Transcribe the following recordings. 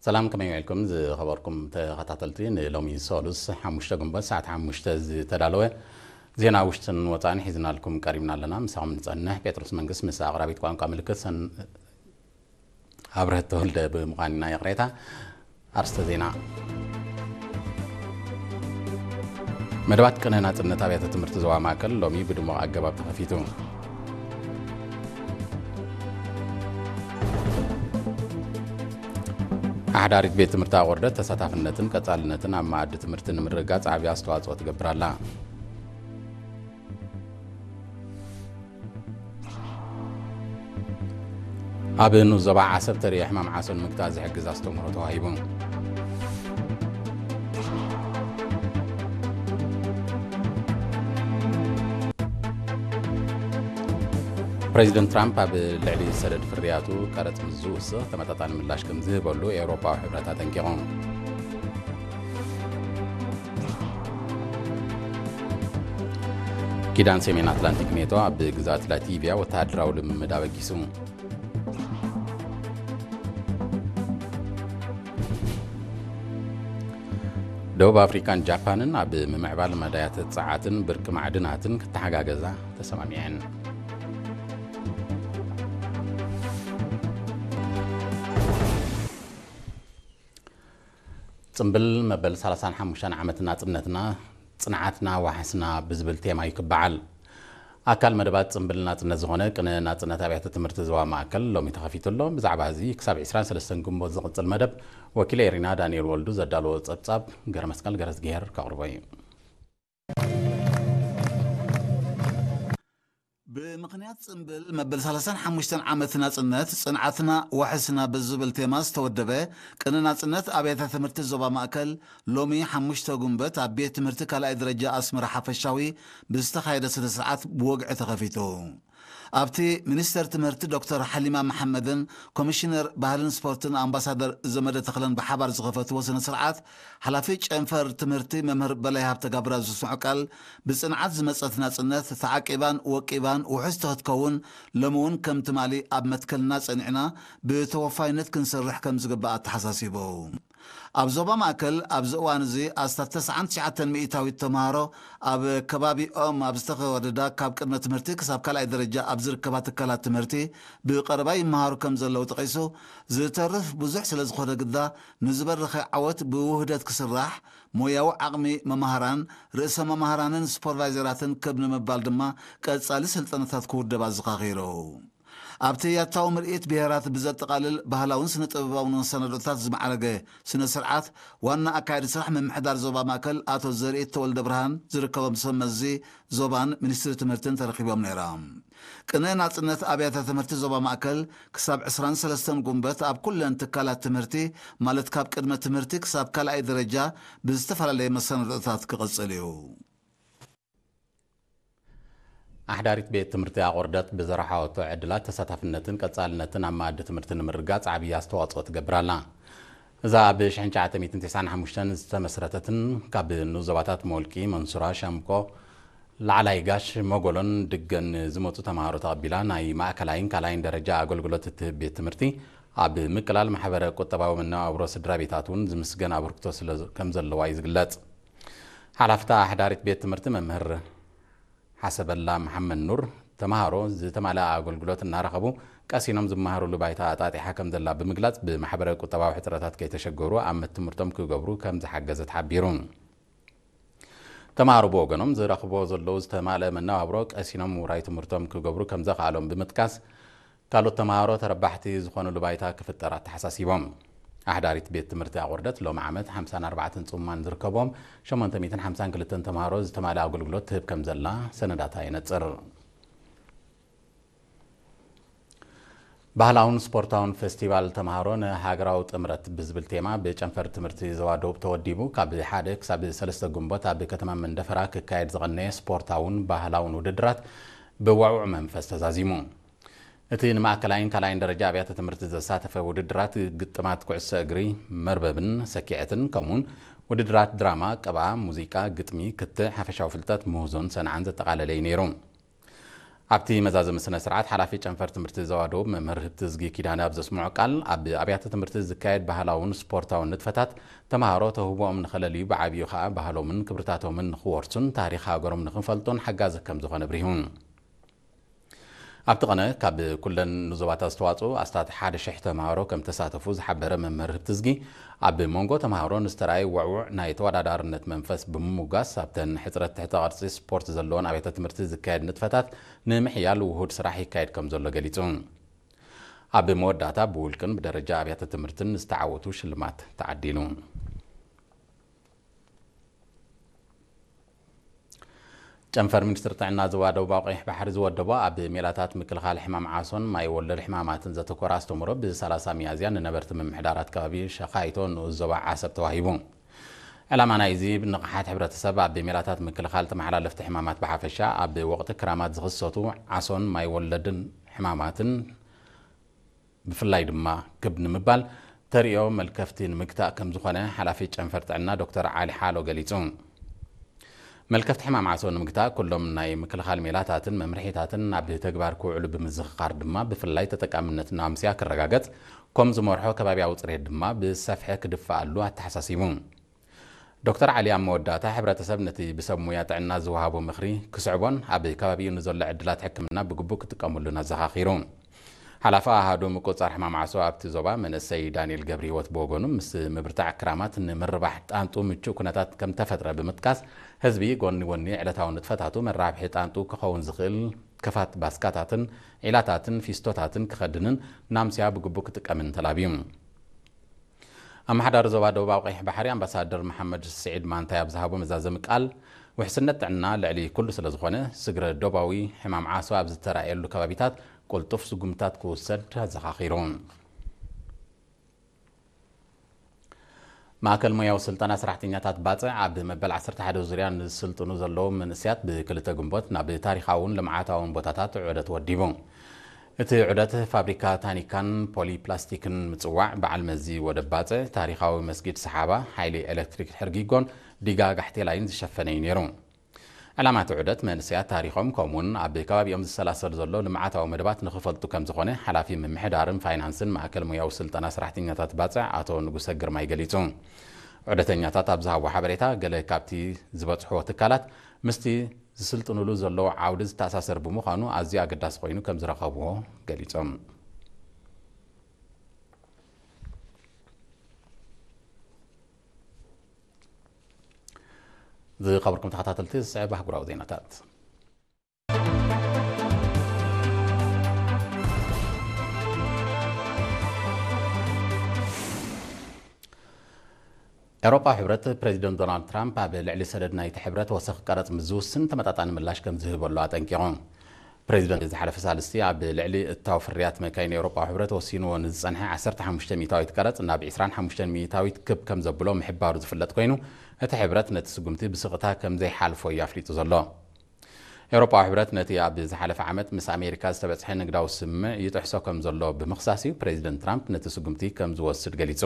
ሰላም፣ ከመይ ውዒልኩም ዝኸበርኩም ተኸታተልቲ? ንሎሚ ሰሉስ ሓሙሽተ ግንቦት ሰዓት ሓሙሽተ ዝተዳለወ ዜና ውሽጥን ወፃእን ሒዝናልኩም ቀሪብና ኣለና። ምሳኹም ንፀንሕ ጴጥሮስ መንግስት ምስ ኣቕራቢት ቋንቋ ምልክት ሰን ኣብርሀት ተወልደ ብምዃን ኢና። ይቕሬታ። ኣርስተ ዜና። መደባት ቅነ ናጽነት ኣብያተ ትምህርቲ ዞባ ማእከል ሎሚ ብድሙቕ ኣገባብ ተኸፊቱ። ኣሕዳሪት ቤት ትምህርቲ ኣቑርደት ተሳታፍነትን ቀጻልነትን ኣብ መኣዲ ትምህርቲ ንምርግጋጽ ዓቢ ኣስተዋጽኦ ትገብር ኣላ። ኣብ ንኡስ ዞባ ዓሰብ ተርእዮ ሕማም ዓሶ ንምግታእ ዝሕግዝ ኣስተምህሮ ተዋሂቡ። ፕሬዚደንት ትራምፕ ኣብ ልዕሊ ሰደድ ፍርያቱ ቀረጽ ምስ ዝውስኽ ተመጣጣኒ ምላሽ ከም ዝህበሉ ኤውሮጳዊ ሕብረት ኣጠንቂቑ። ኪዳን ሰሜን ኣትላንቲክ ኔቶ ኣብ ግዝኣት ላቲቪያ ወተሃደራዊ ልምምድ ኣበጊሱ። ደቡብ ኣፍሪካን ጃፓንን ኣብ ምምዕባል መዳያት ጸዓትን ብርቂ ማዕድናትን ክተሓጋገዛ ተሰማሚዐን። ጽምብል መበል ሰላሳን ሓሙሽተን ዓመት ናጽነትና፣ ጽንዓትና፣ ዋሕስና ብዝብል ቴማ እዩ ክበዓል። ኣካል መደባት ጽምብል ናጽነት ዝኾነ ቅነ ናጽነት ኣብያተ ትምህርቲ ዞባ ማእከል ሎሚ ተኸፊቱ ኣሎ። ብዛዕባ እዚ ክሳብ ዕስራን ሰለስተን ግንቦት ዝቕጽል መደብ ወኪል ኤሪና ዳንኤል ወልዱ ዘዳለዎ ጸብጻብ ገረመስቀል ገረዝግሄር ከቕርቦ እዩ። ብምኽንያት ጽምብል መበል ሰላሳን ሓሙሽተን ዓመት ናጽነት፣ ጽንዓትና ዋሕስና ብዝብል ቴማ ዝተወደበ ቅነ ናጽነት ኣብያተ ትምህርቲ ዞባ ማእከል ሎሚ ሓሙሽተ ጉንበት ኣብ ቤት ትምህርቲ ካልኣይ ደረጃ ኣስመራ ሓፈሻዊ ብዝተኻየደ ስነ ስርዓት ብወግዒ ተኸፊቱ። ኣብቲ ሚኒስተር ትምህርቲ ዶክተር ሓሊማ መሓመድን ኮሚሽነር ባህልን ስፖርትን ኣምባሳደር ዘመደ ተኽለን ብሓባር ዝኸፈትዎ ስነ ስርዓት፣ ሓላፊ ጨንፈር ትምህርቲ መምህር በላይ ሃብተ ጋብራ ዝስምዖ ቃል፣ ብጽንዓት ዝመጸት ናጽነት ተዓቂባን ወቂባን ውሕስቲ ክትከውን፣ ሎሚ እውን ከም ትማሊ ኣብ መትከልና ጸኒዕና ብተወፋይነት ክንሰርሕ ከም ዝግባእ ኣተሓሳሲቡ። ኣብ ዞባ ማእከል ኣብዚ እዋን እዚ ኣስታት ተስዓን ትሽዓተን ሚእታዊት ተምሃሮ ኣብ ከባቢኦም ኣብ ዝተኸወደዳ ካብ ቅድመ ትምህርቲ ክሳብ ካልኣይ ደረጃ ኣብ ዝርከባ ትካላት ትምህርቲ ብቐረባ ይመሃሩ ከም ዘለዉ ጠቒሱ፣ ዝተርፍ ብዙሕ ስለ ዝኾነ ግዳ ንዝበረኸ ዓወት ብውህደት ክስራሕ፣ ሞያዊ ዓቕሚ መማህራን፣ ርእሰ መማህራንን ሱፐርቫይዘራትን ክብ ንምባል ድማ ቀጻሊ ስልጠናታት ክውደብ ኣዘኻኺሩ። ኣብቲ ያታዊ ምርኢት ብሄራት ብዘጠቓልል ባህላውን ስነ ጥበባውን መሰናዶታት ዝማዕረገ ስነ ስርዓት ዋና ኣካያዲ ስራሕ ምምሕዳር ዞባ ማእከል ኣቶ ዘርኢት ተወልደ ብርሃን ዝርከቦም ሰብ መዚ ዞባን ሚኒስትሪ ትምህርትን ተረኺቦም ነይሮም። ቅነ ናጽነት ኣብያተ ትምህርቲ ዞባ ማእከል ክሳብ ዕስራን ሰለስተን ጉንበት ኣብ ኩለን ትካላት ትምህርቲ ማለት ካብ ቅድመ ትምህርቲ ክሳብ ካልኣይ ደረጃ ብዝተፈላለየ መሰናዶታት ክቕጽል እዩ። ኣሕዳሪት ቤት ትምህርቲ ኣቑርደት ብዘርሓወቶ ዕድላት ተሳታፍነትን ቀጻልነትን ኣብ መኣዲ ትምህርቲ ንምርጋጽ ዓብዪ ኣስተዋጽኦ ትገብር ኣላ። እዛ ኣብ ሽሕን ትሽዓተ ሚእትን ተስዓን ሓሙሽተን ዝተመስረተትን ካብ ንኡስ ዞባታት ሞልቂ፣ መንሱራ፣ ሻምቆ፣ ላዕላይ ጋሽ፣ መጎሎን ድገን ዝመጹ ተምሃሮ ተቐቢላ ናይ ማእከላይን ካልኣይን ደረጃ ኣገልግሎት እትህብ ቤት ትምህርቲ ኣብ ምቅላል ማሕበረ ቁጠባዊ መነባብሮ ስድራ ቤታት እውን ዝምስገን ኣበርክቶ ስለ ከም ዘለዋ እዩ ዝግለጽ። ሓላፍታ ኣሕዳሪት ቤት ትምህርቲ መምህር ሓሰበላ መሓመድ ኑር፣ ተምሃሮ ዝተማልኣ ኣገልግሎት እናረኸቡ ቀሲኖም ዝመሃሩሉ ባይታ ኣጣጢሓ ከም ዘላ ብምግላጽ፣ ብማሕበረ ቁጠባዊ ሕጽረታት ከይተሸገሩ ኣመት ትምህርቶም ክገብሩ ከም ዝሓገዘት ሓቢሩ። ተምሃሮ ብወገኖም ዝረኽብዎ ዘለዉ ዝተማልአ መነባብሮ ቀሲኖም ውራይ ትምህርቶም ክገብሩ ከም ዘኽኣሎም ብምጥቃስ፣ ካልኦት ተምሃሮ ተረባሕቲ ዝኾኑሉ ባይታ ክፍጠር ኣተሓሳሲቦም። ኣሕዳሪት ቤት ትምህርቲ ኣቑርደት ሎሚ ዓመት ሓምሳን ኣርባዕተን ጽሙማን ዝርከብዎም ሸሞንተ ሚእትን ሓምሳን ክልተን ተምሃሮ ዝተማልአ ኣገልግሎት ትህብ ከም ዘላ ሰነዳታ የነጽር። ባህላውን ስፖርታውን ፌስቲቫል ተምሃሮ ንሃገራዊ ጥምረት ብዝብል ቴማ ብጨንፈር ትምህርቲ ዞባ ደቡብ ተወዲቡ ካብ ሓደ ክሳብ ሰለስተ ግንቦት ኣብ ከተማ መንደፈራ ክካየድ ዝቐነየ ስፖርታውን ባህላውን ውድድራት ብዋዕውዕ መንፈስ ተዛዚሙ። እቲ ንማእከላይን ካልኣይን ደረጃ ኣብያተ ትምህርቲ ዘሳተፈ ውድድራት ግጥማት ኩዕሶ እግሪ፣ መርበብን ሰኪዐትን፣ ከምኡውን ውድድራት ድራማ፣ ቀብኣ፣ ሙዚቃ፣ ግጥሚ፣ ክትዕ፣ ሓፈሻዊ ፍልጠት፣ ምህዞን ሰንዓን ዘጠቓለለ እዩ ነይሩ። ኣብቲ መዛዘሚ ስነ ስርዓት ሓላፊ ጨንፈር ትምህርቲ ዞባ ደቡብ መምህር ህብቲ ዝጊ ኪዳነ ኣብ ዘስምዖ ቃል፣ ኣብ ኣብያተ ትምህርቲ ዝካየድ ባህላውን ስፖርታውን ንጥፈታት ተምሃሮ ተውህቦኦም ንኸለልዩ፣ ብዓብዩ ኸኣ ባህሎምን ክብርታቶምን ንኽወርሱን ታሪኽ ሃገሮም ንኽፈልጡን ሓጋዚ ከም ዝኾነ ኣብሪሁ። ኣብቲ ቐነ ካብ ኩለን ንዞባታት ዝተዋጽኡ ኣስታት ሓደ ሽሕ ተምሃሮ ከም ተሳተፉ ዝሓበረ መምህር ህብቲ ዝጊ፣ ኣብ መንጎ ተምሃሮ ንዝተራእየ ውዕውዕ ናይ ተወዳዳርነት መንፈስ ብምሙጋስ፣ ኣብተን ሕጽረት ትሕተ ቅርጺ ስፖርት ዘለዎን ኣብያተ ትምህርቲ ዝካየድ ንጥፈታት ንምሕያል ውሁድ ስራሕ ይካየድ ከም ዘሎ ገሊጹ። ኣብ መወዳእታ ብውልቅን ብደረጃ ኣብያተ ትምህርትን ዝተዓወቱ ሽልማት ተዓዲሉ። ጨንፈር ሚኒስትሪ ጥዕና ዞባ ደቡባዊ ቀይሕ ባሕሪ ዝወደቦ ኣብ ሜላታት ምክልኻል ሕማም ዓሶን ማይ ወለድ ሕማማትን ዘተኮረ ኣስተምህሮ ብ ሰላሳ ሚያዝያ ንነበርቲ ምምሕዳራት ከባቢ ሸኻይቶ ንኡስ ዞባ ዓሰብ ተዋሂቡ። ዕላማ ናይዚ ንቕሓት ሕብረተሰብ ኣብ ሜላታት ምክልኻል ተመሓላለፍቲ ሕማማት ብሓፈሻ፣ ኣብ ወቕቲ ክራማት ዝኽሰቱ ዓሶን ማይ ወለድን ሕማማትን ብፍላይ ድማ ክብ ንምባል ተርእዮ መልከፍቲ ንምግታእ ከም ዝኾነ ሓላፊ ጨንፈር ጥዕና ዶክተር ዓሊ ሓሎ ገሊጹ። መልከፍቲ ሕማም ዓሶ ንምግታእ ኩሎም ናይ ምክልኻል ሜላታትን መምርሒታትን ናብ ተግባር ክውዕሉ ብምዝኽኻር ድማ ብፍላይ ተጠቃምነት ናምስያ ክረጋገጽ ከም ዝመርሖ ከባብያዊ ጽሬት ድማ ብሰፍሐ ክድፈኣሉ ኣተሓሳሲቡ። ዶክተር ዓሊ ኣብ መወዳእታ ሕብረተሰብ ነቲ ብሰብ ሙያ ጥዕና ዝወሃቦ ምኽሪ ክስዕቦን ኣብ ከባቢኡ ንዘሎ ዕድላት ሕክምና ብግቡእ ክጥቀመሉን ኣዘኻኺሩ። ሓላፊ ኣሃዱ ምቁጽጻር ሕማም ዓሶ ኣብቲ ዞባ መንእሰይ ዳንኤል ገብረህይወት ብወገኑ፣ ምስ ምብርታዕ ክራማት ንምርባሕ ጣንጡ ምቹእ ኩነታት ከም ተፈጥረ ብምጥቃስ፣ ህዝቢ ጎኒ ጎኒ ዕለታዊ ንጥፈታቱ መራብሒ ጣንጡ ክኸውን ዝኽእል ክፋት ባስካታትን ዒላታትን ፊስቶታትን ክኸድንን ናምስያ ብግቡእ ክጥቀምን ተላብዩ። ኣመሓዳሪ ዞባ ደቡባዊ ቀይሕ ባሕሪ ኣምባሳደር መሓመድ ስዒድ ማንታይ ኣብ ዝሃቦ መዛዘሚ ቃል፣ ውሕስነት ጥዕና ልዕሊ ኩሉ ስለ ዝኾነ፣ ስግረ ዶባዊ ሕማም ዓሶ ኣብ ዝተራእየሉ ከባቢታት ቅልጡፍ ስጉምታት ክውሰድ ኣዘኻኺሩ። ማእከል ሞያዊ ስልጠና ሰራሕተኛታት ባጽዕ ኣብ መበል ዓሰርተ ሓደ ዙርያ ንዝስልጥኑ ዘለዉ መንእሰያት ብክልተ ግንቦት ናብ ታሪኻውን ልምዓታውን ቦታታት ዑደት ወዲቡ። እቲ ዑደት ፋብሪካ ታኒካን ፖሊፕላስቲክን ምጽዋዕ፣ በዓል መዚ ወደብ ባጽዕ፣ ታሪኻዊ መስጊድ ሰሓባ፣ ሓይሊ ኤሌክትሪክ ሕርጊጎን ዲጋ ጋሕቴላይን ዝሸፈነ እዩ ነይሩ። ዕላማ እቲ ዑደት መንእሰያት ታሪኾም ከምኡውን ኣብ ከባቢኦም ዝሰላሰል ዘሎ ልምዓታዊ መደባት ንኽፈልጡ ከም ዝኾነ ሓላፊ ምምሕዳርን ፋይናንስን ማእከል ሞያዊ ስልጠና ሰራሕተኛታት ባጽዕ ኣቶ ንጉሰ ግርማይ ገሊጹ። ዑደተኛታት ኣብ ዝሃቦ ሓበሬታ፣ ገለ ካብቲ ዝበጽሕዎ ትካላት ምስቲ ዝስልጥንሉ ዘለዉ ዓውዲ ዝተኣሳሰር ብምዃኑ ኣዝዩ ኣገዳሲ ኮይኑ ከም ዝረኸብዎ ገሊጾም። ዝኸበርኩም ተኸታተልቲ፣ ዝስዕብ ኣህጉራዊ ዜናታት። ኤውሮጳዊ ሕብረት ፕሬዚደንት ዶናልድ ትራምፕ ኣብ ልዕሊ ሰደድ ናይቲ ሕብረት ወሰኽ ቀረጽ ምስ ዝውስን ተመጣጣኒ ምላሽ ከም ዝህበሉ ኣጠንቂቑ። ፕሬዚደንት ዝሓለፈ ሳልስቲ ኣብ ልዕሊ እታው ፍርያት መካይን ኤውሮጳዊ ሕብረት ወሲንዎ ንዝጸንሐ ዓሰርተ ሓሙሽተ ሚእታዊት ቀረጽ ናብ ዕስራን ሓሙሽተን ሚእታዊት ክብ ከም ዘብሎ ምሕባሩ ዝፍለጥ ኮይኑ፣ እቲ ሕብረት ነቲ ስጉምቲ ብስቕታ ከም ዘይሓልፎ እዩ ኣፍሊጡ ዘሎ። ኤውሮጳዊ ሕብረት ነቲ ኣብ ዝሓለፈ ዓመት ምስ ኣሜሪካ ዝተበጽሐ ንግዳዊ ስምምዕ ይጥሕሶ ከም ዘሎ ብምኽሳስ እዩ ፕሬዚደንት ትራምፕ ነቲ ስጉምቲ ከም ዝወስድ ገሊጹ።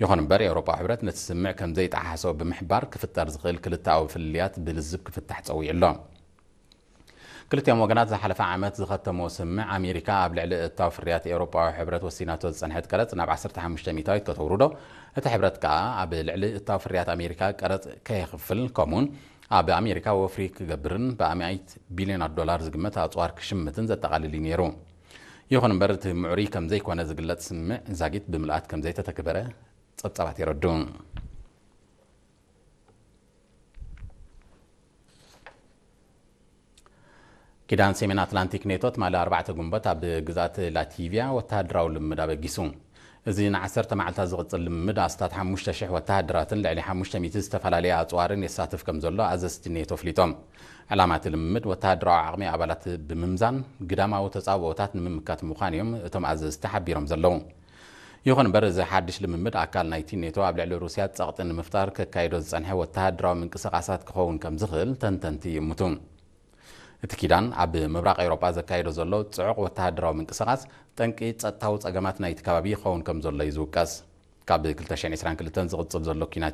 ይኹን እምበር፣ ኤውሮጳዊ ሕብረት ነቲ ስምምዕ ከም ዘይጠሓሶ ብምሕባር ክፍጠር ዝኽእል ክልተኣዊ ፍልልያት ብልዝብ ክፍታሕ ጸዊዑ ኣሎ። ክልቲኦም ወገናት ዝሓለፈ ዓመት ዝኸተምዎ ስምምዕ፣ ኣሜሪካ ኣብ ልዕሊ እታው ፍርያት ኤውሮጳዊ ሕብረት ወሲናቶ ዝጸንሐት ቀረጽ ናብ ዓሰርተ ሓሙሽተ ሚእታዊት ከተውርዶ፣ እቲ ሕብረት ከኣ ኣብ ልዕሊ እታው ፍርያት ኣሜሪካ ቀረጽ ከየኽፍል፣ ከምኡውን ኣብ ኣሜሪካ ወፍሪ ክገብርን ብኣማኢት ቢልዮናት ዶላር ዝግመት ኣጽዋር ክሽምትን ዘጠቓልል እዩ ነይሩ። ይኹን እምበር፣ እቲ ምዕሩይ ከም ዘይኮነ ዝግለጽ ስምምዕ ዛጊት ብምልኣት ከም ዘይተተግበረ ጸብጻባት የረድኡ። ኪዳን ሰሜን ኣትላንቲክ ኔቶ ትማሊ ኣርባዕተ ግንቦት ኣብ ግዝኣት ላቲቪያ ወተሃደራዊ ልምምድ ኣበጊሱ። እዚ ንዓሰርተ መዓልታት ዝቕጽል ልምምድ ኣስታት ሓሙሽተ ሽሕ ወተሃደራትን ልዕሊ ሓሙሽተ ሚእቲ ዝተፈላለየ ኣጽዋርን የሳትፍ ከም ዘሎ ኣዘዝቲ ኔቶ ኣፍሊጦም። ዕላማ እቲ ልምምድ ወተሃደራዊ ዓቕሚ ኣባላት ብምምዛን ግዳማዊ ተጻብኦታት ንምምካት ምዃኑ እዮም እቶም ኣዘዝቲ ሓቢሮም ዘለዉ። ይኹን እምበር፣ እዚ ሓድሽ ልምምድ ኣካል ናይቲ ኔቶ ኣብ ልዕሊ ሩስያ ጸቕጢ ንምፍጣር ከካይዶ ዝጸንሐ ወተሃደራዊ ምንቅስቓሳት ክኸውን ከም ዝኽእል ተንተንቲ ይእምቱ። እቲ ኪዳን ኣብ ምብራቕ ኤውሮጳ ዘካየዶ ዘሎ ጽዑቕ ወተሃደራዊ ምንቅስቓስ ጠንቂ ጸጥታዊ ጸገማት ናይቲ ከባቢ ይኸውን ከም ዘሎ እዩ ዝውቀስ። ካብ ክልተ ሽሕን ዕስራን ክልተን ዝቕጽል ዘሎ ኲናት